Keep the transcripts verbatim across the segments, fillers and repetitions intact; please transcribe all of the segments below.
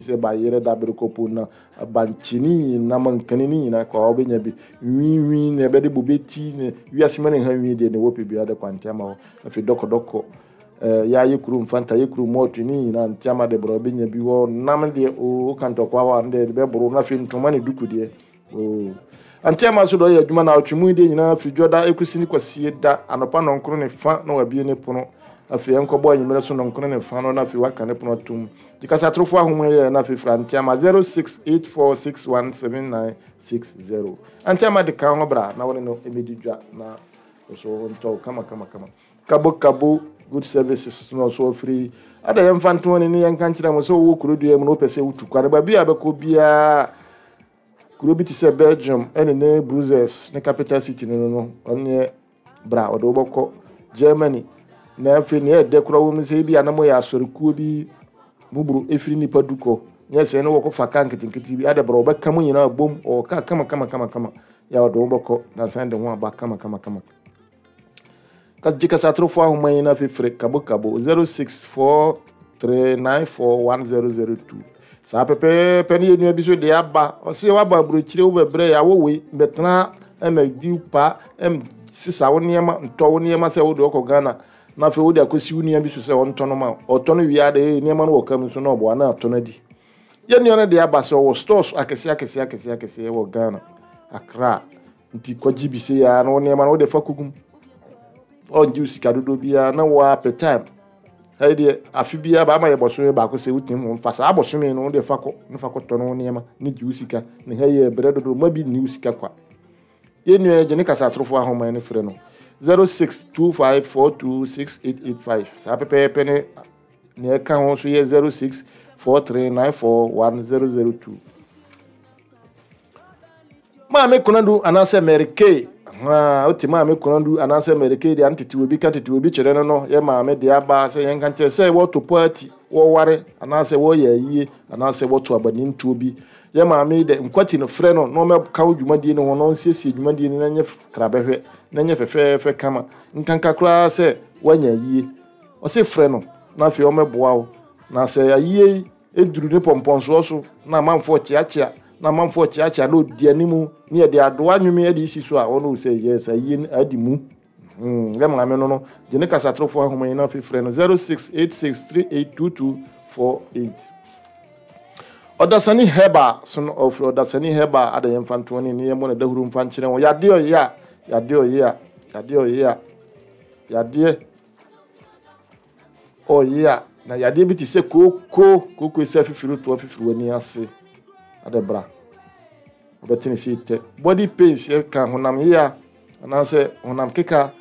sɛ bayerɛ, dabere, kɔpo na bankye ne nyinaa, mankani ne nyinaa kɔ a wobɛnya bi. Nwiinwii na ɛbɛde bobe ti ne wiase ma ne ha nwii deɛ ne wɔpɛ biara de kɔ Anteama hɔ. Afei dɔkɔdɔkɔ, ɛɛ yɛayɛ kurom Fanta, yɛ kurom mɔɔto ne nyinaa, Anteama de borɔ wobɛnya bi hɔ. Nam deɛ oo, woka ntɔkwa hɔ a ne deɛ bɛboro. Na afei ntoma ne duku deɛ oo, Anteama so deɛ ɔyɛ adwuma na ɔtwe mu deɛ nyinaa firi Dwoda ɛkɔsi ne Kwasie da anɔpa nɔnkron ne fa na wabie ne pono. Afei ɛnkɔbɔ anwummerɛ so nɔnkron ne fa no na afei waka ne pono atom. Nti kasatorofo ahoma yɛ na afei fra Anteama zero six eight four six one seven nine six zero. Anteama de ka ho bra na wɔne no ɛmɛdi dwa na ɔso ntɔ kama kama kama. Kabo Kabo Good Services no ɔso afiri ada. Yɛmfa ntoɔ ne ne yɛnka nkyerɛ mo sɛ wowɔ kuro dua mu na wopɛ sɛ wotu kwane baabi a bɛkɔ biara, kuro bi te sɛ Belgium ɛne ne Brussels ne capital city no no no ɔneɛ bra ɔde wobɛkɔ Germany. Na afei nea ɛdɛ koraa wɔ mu sɛ ebi anam yɛ asɔrekuo bi muburu efiri nipa du kɔ nyɛ sɛ ne wɔkɔ fa kaa nketenkete bi ade bra ɔbɛka mu nyinaa bom ɔwɔ kaa kama kama kama kama yɛ ɔde wobɛkɔ na san de ho aba kama kama kama. Gye kasatorofo ahoma yi na afei frɛ Kabo Kabo zero six four three nine four one zero zero two. Saa pɛpɛɛpɛ ne yɛ nua bi so de aba. Ɔsɛ waba aburokyire, wobɛbrɛ yɛ awɔ wei mbɛtena ɛmɛdi pa ɛm sisa wo nneɛma, ntɔ wo nneɛma sɛ wode ɔkɔ Ghana na afei wode akɔsi wo nua bi so sɛ ɔntɔ no ma ɔtɔ no wie ade nneɛma no wɔ kam so na ɔboa na atɔ no adi. Yɛn nua no de aba sɛ ɔwɔ stores akɛseɛ akɛseɛ akɛseɛ akɛseɛ wɔ Ghana, Accra. Nti kɔgye bi sɛ yɛa na wo nneɛma no wode fa kogum, ɔngye wo sika dodoɔ biara na wɔapɛ time. Ɛyɛ deɛ afe biara baama yɛ bɔsome baako sɛ wotumi ho mfa saa bɔsome no wode fa kɔ ne fa kɔtɔ no wo nneɛma ne gye wo sika ne ha yɛ berɛ dodoɔ ma bi nni wo sika kwa. Yɛn nua gye ne kasatorofo ahoma ne frɛ no zero six two five four two six eight eight five. Saa pɛpɛɛpɛ ne nea ɛka ho nso yɛ zero six four three nine four one zero zero two. Maame Konadu anaasɛ Mary Kay, wote Maame Konadu anaasɛ Mary Kay deɛ antete obi ka tete obi kyerɛ no no yɛ maame deɛ aba sɛ yɛnka nkyerɛ sɛ wɔto party, wɔware anaasɛ wɔyɛ ayie anaasɛ wɔto abanintuo bi, yɛ maame de nkwati no frɛ no na ɔmɛka wo dwumadie no ho na ɔnsiesie dwumadie no na nyɛ krabɛhwɛ na nyɛ fɛfɛɛfɛ kama. Nkanka koraa sɛ woanya ayie, ɔse frɛ no na afei ɔmɛboa wo. Na sɛ ayie yi eduru ne pɔmpɔnsoɔ so na amanfoɔ kyeakyea na amanfoɔ kyeakyea na ɔdi animu ne yɛde adoa nwome de si so a, ɔno sɛ yɛ sɛ ayie no adi mu. Yɛ maame no no gye ne kasatorofo ahoma yi na afei frɛ no zero six eight six three eight two two four eight. Ɔdasani Heba so no ɔfiri Ɔdasani Heba ada. Yɛmfa ntoɔ ne ne yɛmmɔ ne dahuro mfa nkyerɛ wɔn yadeɛ ɔyɛ a yadeɛ ɔyɛ a yadeɛ ɔyɛ a yadeɛ ɔyɛ a na yadeɛ bi te sɛ kooko kooko sɛ afifiri toɔ afifiri w'ani ase ade bra ɔbɛtene sɛ tɛ body pains, yɛka honam yea anaasɛ honam keka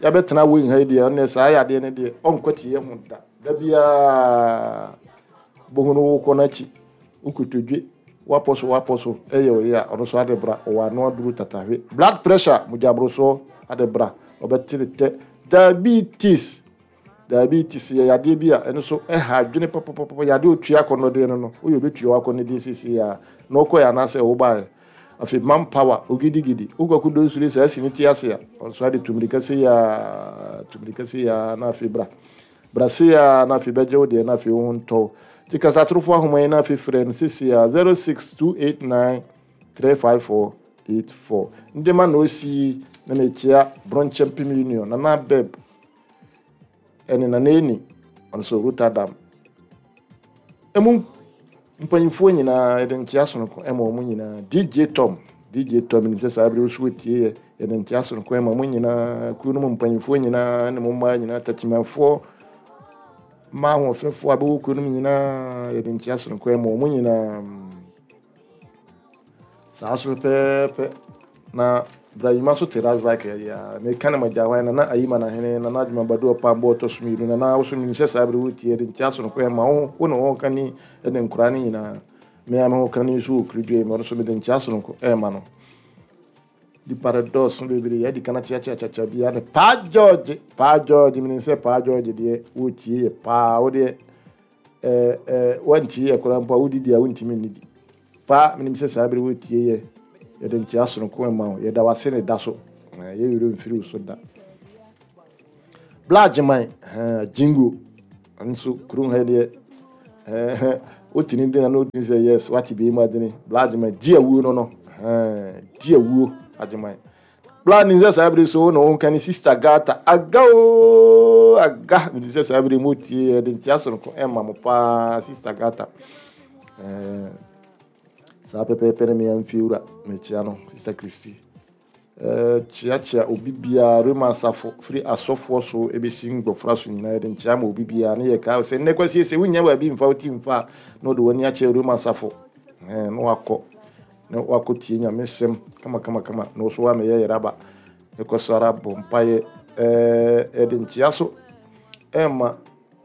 yɛbɛtena wei nha yi deɛ, ɔne saa yadeɛ no deɛ ɔnkɔ te yɛ ho da da biara bohu no wokɔ n'akyi wokotodwe wapɔ so wapɔ so ɛyɛ ɔyɛ a ɔno nso ade bra ɔwɔ ano aduru tatahwe. Blood pressure, mogyaborosoɔ, ade bra ɔbɛtene tɛ. Diabetes, diabetes yɛ yadeɛ bi a ɛno nso ɛha adwene papapapa. Yadeɛ otua akɔnnɔdeɛ no no woyɛ obɛtua wakɔnnɔdeɛ siesie a na ɔkɔɛ anaasɛ wobaeɛ. Afei man power ogidigidi wokɔko do nsure saa si ne ti ase a ɔnso ade tumirika se ya tumirika se ya na afei bra bra se ya na afei bɛgye wo deɛ na afei wo ho ntɔw. Nti kasatorofo ahoma yi na afei frɛ no sisi a zero six two eight nine three five four eight four. Ndema na osi na mekyia Bronkyɛ Mpem Union Nana Beb ɛne Nana Eni, ɔno nso Rotterdam emu mpanyinfoɔ nyinaa, yɛde nkyea sononko ɛma wɔn nyinaa. D J Tom, D J Tom nim sɛ saa abiri osu etie yɛ, yɛde nkyea sononko ɛma wɔn nyinaa, kuro no mu mpanyinfoɔ nyinaa ne mo mmaa nyinaa, takyimanfoɔ mmaa ahoɔfɛfoɔ a bɛwɔ kuro no mu nyinaa, yɛde nkyea sononko ɛma wɔn nyinaa. Saa so pɛpɛɛpɛ na Brahima so te rasbak yɛ a meka ne magya hwan Nana Ayima Nahene Nana Adwuma Badu Ɔpambɔ ɔtɔ so mmienu. Nana wo so menim sɛ saa bere wotie, yɛde nkyea sononko ɛma wo, wo ne wo ka ni ne nkoraa no nyinaa. Mea me ho ka ni nso wɔ kurodua yi mu, ɔno so mede nkyea sononko ɛma no. Nipa no dɔɔso bebree. Yɛde kana kyeakyeakyakya bia ne Paa George, Paa George, menim sɛ Paa George deɛ wotie yɛ paa. Wo deɛ ɛɛ ɛɛ wantie yɛ koraa mpo a wodidi a wontumi nnidi paa. Menim sɛ saa bere wotie yɛ, yɛde nkyea sononko ɛma wo, yɛda wase ne da so yɛwerɛ mfiri wo so da. Bla Agyeman Jingo nso kurom ha deɛ Wotini de na na wotini sɛ yes, wate bi mu adene. Bla Agyeman di awuo no no. Di awuo Agyeman. Bla nim sɛ saa bere so na wɔn ka ne sister Gata. Aga o aga. Nim sɛ saa bere mu tie yɛde nkyia soronko ɛma mo paa, sister Gata. Ɛɛ saa pɛpɛɛpɛ ne mmea mfie wura mekyia no, sister Christy. Ɛɛ kyeakyea obi biara, Rema asafo firi asɔfoɔ so ebesi ngbɔfra so nyinaa, yɛde nkyia ma obi biara. Ne yɛ kaa sɛ nnɛ kwasi sɛ wonya baabi mfa wo ti mfa a, na wɔde w'ani akyerɛ Rema asafo ɛɛ na wakɔ na wakɔ tie Nyame sɛm kama kama kama na wɔso wamɛyɛ yɛraba ɛkɔ so ara bɔ mpaeɛ. Ɛɛ yɛde nkyia so ɛma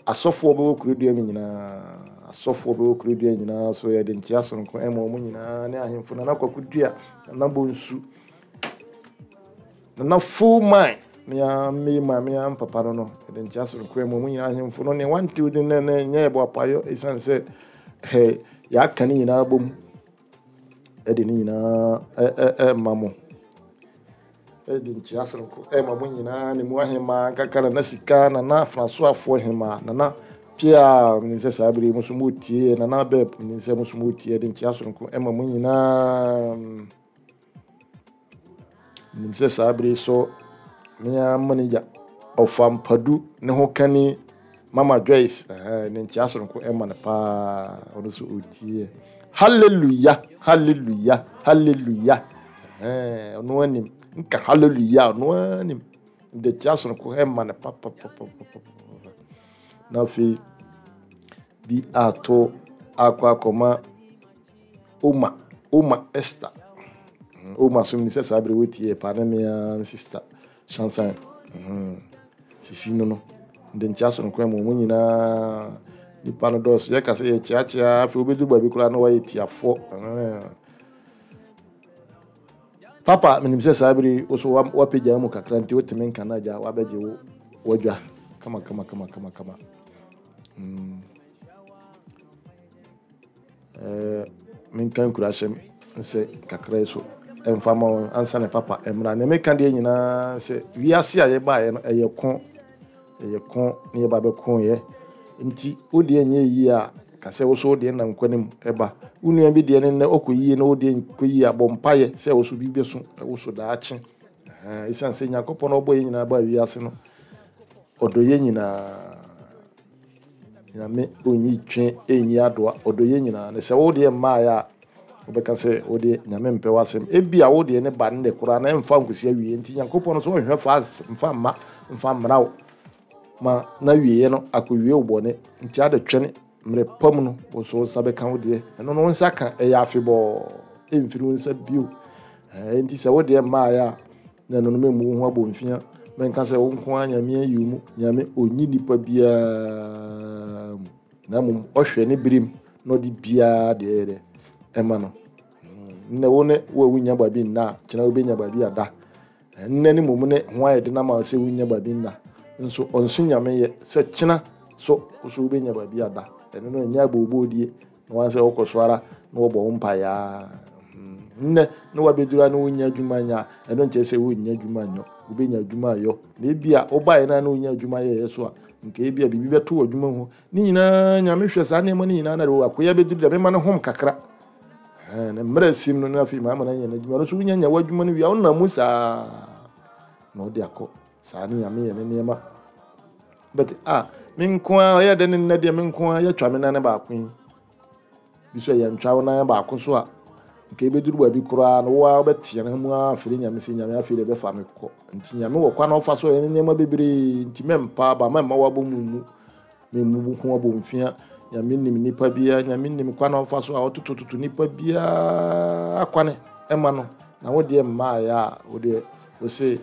asɔfoɔ bɛwɔ kurodua mu nyinaa, asɔfoɔ bɛwɔ kurodua nyinaa so, yɛde nkyia sononko ɛma wɔn nyinaa ne ahemfo Nana Kwaku Dua, Nana Bonsu, Nana Full Man, mea me ma mea papa no no yɛde nkyia sononko ɛma wɔn nyinaa, ahemfo no ne wantew de ne ne nyɛ yɛbɔ apayɔ ɛsiane sɛ ɛɛ yɛaka ne nyinaa bom ɛde ne nyinaa ɛ ɛ ɛma mo. Ɛde nkyia sononko ɛma mo nyinaa ne mu ahemmaa nkaka, Nana Sika, Nana Francoafoɔ hemaa, Nana Pia, menim sɛ saa bere yi mo nso motie, Nana Bɛb, menim sɛ mo nso motie. Ɛde nkyia sononko ɛma mo nyinaa. Menim sɛ saa bere yi so mea manager ɔfa mpadu ne ho kani Mama Joyce, ɛhɛn, ne nkyia sononko ɛma no paa, ɔno nso ɔtie. Hallelujah, hallelujah, hallelujah. Ɛhɛn, ɔno anim nka hallelujah, ɔno anim de nkyia sononko ɛma no papapapapapa. Na afei bi ato akɔ akɔma Oma Oma Esther. Oma so menim sɛ saa bere wotie paa ne mea sister Shansan sisi no no de nkyia sononko ɛma wɔn nyinaa. Nipa no dɔɔso, yɛka sɛ yɛkyeakyea, afei wobɛduru baabi koraa na wɔayɛ tiafoɔ. Papa, menim sɛ saa bere wo so wapagya mu kakra nti wotumi nka no agya wabɛgye wo wadwa kama kama kama kama kama. Mm. Eh, menka nkurahyɛm nsɛ kakra yi so ɛmfa ma wɔn ansa ne papa mmra. Nea meka deɛ nyinaa sɛ wiase a yɛbaeɛ no ɛyɛ ko, ɛyɛ ko ne yɛba bɛkoeɛ. Nti wo deɛ nyɛ yie a, ka sɛ wo so wo deɛ nam kwan mu ɛba. Wo nua bi deɛ ne nnɛ ɔkɔ yie na wo deɛ nkɔ yie a, bɔ mpaeɛ sɛ wo so bi bɛso wo so daakye. Ɛsiane sɛ Nyankopɔn a ɔbɔ yɛn nyinaa baa wiase no, ɔdɔ yɛn nyinaa. Nyame ɔnyi twe ɛnyi adoa, ɔdɔ yɛn nyinaa. Na sɛ wo deɛ mmaeɛ a, wobɛka sɛ wo deɛ Nyame mpɛ w'asɛm. Ebia wo deɛ ne ba ne koraa na ɛmfa nkosi awie. Nti Nyankopɔn no so ɔnhwɛ fa mfa mma mfa mmra wo ma na wieɛ no akɔwie wo bɔne. Nti ade twɛne mmerɛ pa mu no, wo so wo nsa bɛka wo deɛ. Ɛno no wo nsa ka ɛyɛ afebɔɔ, ɛmfiri wo nsa bio. Nti sɛ wo deɛ mmaeɛ a, na ɛno no mɛmmu wo ho abɔmfia. Mɛnka sɛ wo nko ara Nyame ayi wo mu. Nyame ɔnyi nipa biara mu. Na mmom ɔhwɛ ne berem na ɔde biara deɛ ɛyɛ dɛ ɛma no. Nnɛ wo ne wo a wonya baabi nna a, kyena wobɛnya baabi ada. Nnɛ ne mmom ne ho ayɛ den ama wo sɛ wonya baabi nna. Nso ɔnso Nyame yɛ sɛ kyena so wo so wobɛnya baabi ada. Ɛno no ɛnyɛ aboobɔodie na wɔn sɛ wokɔ so ara na wɔbɔ wo mpaeɛ ara. Nnɛ na wabɛduru a na wonya adwuma nyɛ a, ɛno nkyerɛ sɛ wonnya adwuma nyɔ. Wobɛnya adwuma ayɔ. Na ebi a wobaeɛ no a na wonya adwuma yɛeɛ so a, nka ebi a biribi bɛto wɔ adwuma mu. Ne nyinaa Nyame hwɛ saa nneɛma no nyinaa na de akoya bɛduru deɛ mema no hom kakra. Na mmerɛ asim no na afei maama no anya n'adwuma no so. Wonya nya w'adwuma no wie a, wonam mu saa na ɔde akɔ. Saa ne Nyame yɛ ne nneɛma. But ah, me nko ara ɔyɛ dɛ ne nnɛ deɛ me nko ara yɛtwa me nan baako yi. Bi so yɛntwa wo nan baako so a, nka ebɛduru baabi koraa no wo ara wobɛteɛ no mu ara afiri Nyame sɛ Nyame afei deɛ ɛbɛfa me kɔ. Nti Nyame wɔ kwan a ɔfa so ɔyɛ ne nneɛma bebree. Nti mɛmpa aba, mɛmma wabɔ mu mu. Mɛmmu ho abɔ mfia. Nyame nim nipa biara, Nyame nim kwan a ɔfa so a ɔtotototo nipa biara kwane ɛma no. Na wo deɛ mmaeɛ a, wo deɛ wo se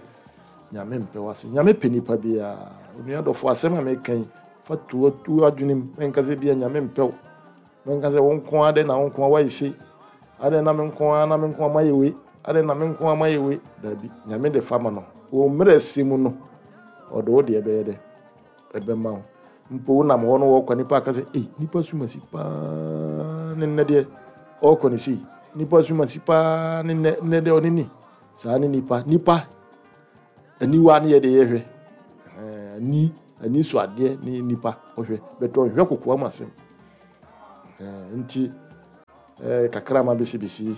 Nyame mpɛ w'ase. Nyame pɛ nipa biara. Onua dɔfo, asɛm a meka yi, fa to w'adwene mu. Mɛnka sɛ bia Nyame mpɛ wo. Mɛnka sɛ wo nko ara dɛn na wo nko ara woayɛ sei. Adɛn na me nko ara na me nko ara mayɛ wei. Adɛn na me nko ara mayɛ wei. Daabi, Nyame de fa ma no. Wɔ mmerɛ si mu no, ɔde wo deɛ bɛyɛ dɛ ɛbɛma wo. Mpo wonam hɔ no wɔkɔ nipa aka sɛ, ei, nipa sumasi paa ne nnɛ deɛ ɔrekɔ ne sei. Nipa sumasi paa ne nnɛ nnɛ deɛ ɔne ni. Saa ne nipa. Nipa aniwa ne yɛde yɛhwɛ. Ani ani so adeɛ ne nipa ɔhwɛ. Bɛtɛ ɔhwɛ kokoa mu asɛm. Nti kakra ma bɛsibɛsi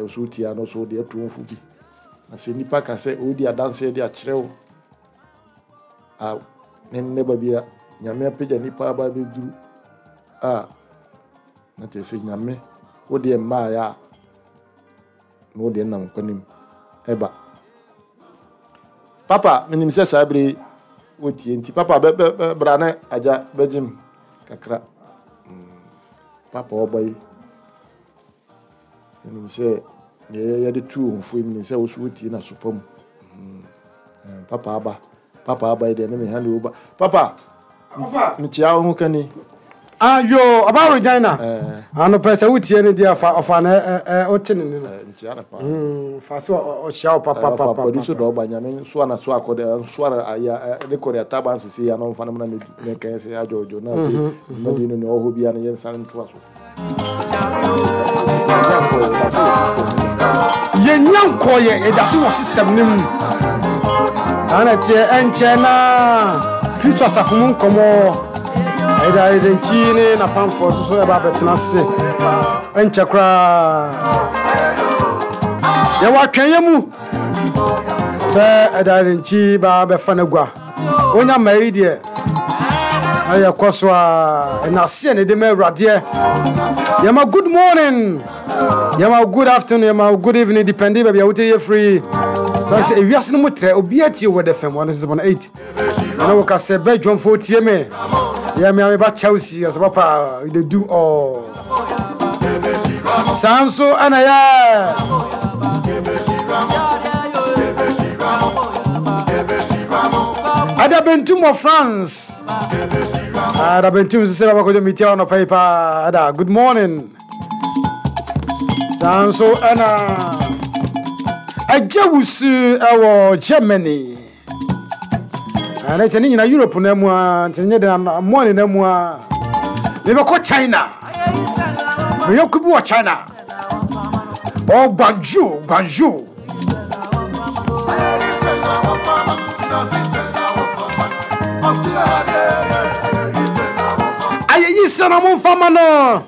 so wotia no so wode atu wo fo bi. Na sɛ nnipa ka sɛ ɔredi adanseɛ de akyerɛ wo a, ne nnɛ ba bi a Nyame apagya nnipa aba abɛduru a, na kyerɛ sɛ Nyame wo deɛ mmaeɛ a, na wo deɛ nam nkwanim ɛba. Papa, menim sɛ saa bere wotie nti papa bra ne agya bɛgyem kakra. Papa ɔba yi, menim sɛ deɛ yɛde tu wɔn fo yi, menim sɛ wo so wotie na sopa mu. Papa aba, papa aba yi deɛ ne me hand over. Papa, mekyia wo ho kani. Ah, yo, ɔba Regina. Ano pɛ sɛ wotie ne deɛ ɔfa ɔfa na ɛ ɔte ne ne no. Nkyia ne paa. Fa so ɔhyia wo papa papa. Papa so dɔ ɔba Nyame nso ana so akɔde nso ana aya ne kɔre ataba nso si ya no mfa no na me me kan sɛ adwojo na afei mmadi no ne ɔhɔ bia no yɛnsa ntoa so. Yɛnya nkɔyɛ yɛda so wɔ system no mu. Saa na ɛteɛ ɛnkyɛ na Kristo asafo mu nkɔmmɔ ɛda ɛdɛnkyi ne napamfoɔ so so ɛba abɛtena ase ɛnkyɛ koraa. Yɛwɔ atwɛnyɛ mu sɛ ɛda ɛdɛnkyi ba bɛfa no agua. Wonya mma yi deɛ ɛyɛ kɔ so a ɛnaseɛ ne de ma Awuradeɛ. Yɛma good morning, yɛma good afternoon, yɛma good evening, depending baabi a wote yɛ free. Sɛ sɛ ewiase no mu trɛ obiara tie wɔ F M one six point eight. Ɛna wɔka sɛ bɛ dwomfo tie me. Yɛ me ame ba Chelsea sɛ papa they do all. Saa nso ɛna yɛ Ada Bentum wɔ France. Ada Bentum sɛ baba kɔdwo metia wɔ nɔpa yi paa. Ada, good morning. Saa nso ɛna Agya Wusu ɛwɔ Germany. Ɛna kyɛ ne nyina Europe na mu a, nti nyɛ den morning na mu a. Mebɛkɔ China. Meyɔko bi wɔ China. Oh, Guangzhou, Guangzhou. Aye, yi sɛ na momfa ma no.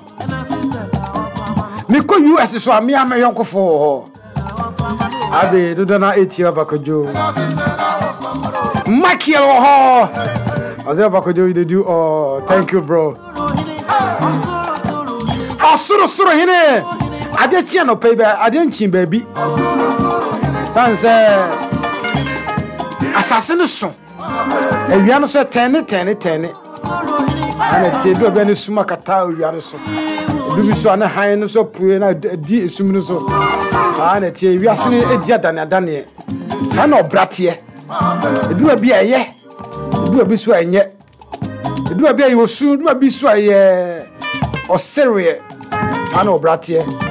Mekɔ U S so a mea me yɔnkofo wɔ hɔ. Abe dodo na etie Abakojo. Michael wɔ hɔ. Ɔsɛ Abakojo you dey do oh, thank you bro. Ɔsoro soro hene. Ade kye no pɛ ba ade nkyin baabi. San sɛ asase no so. Awia no so tɛne tɛne tɛne. Ana tie bi obi ne suma kata awia no so. Ebi bi so ana han no so pue na di esum no so. Saa na tie wiase ne edi adane adane. Saa na ɔbrateɛ. Ebi obi a ɛyɛ. Ebi obi so ɛnyɛ. Ebi obi a ɛyɛ osu, ebi obi so ɛyɛ ɔsereɛ. Saa na ɔbrateɛ.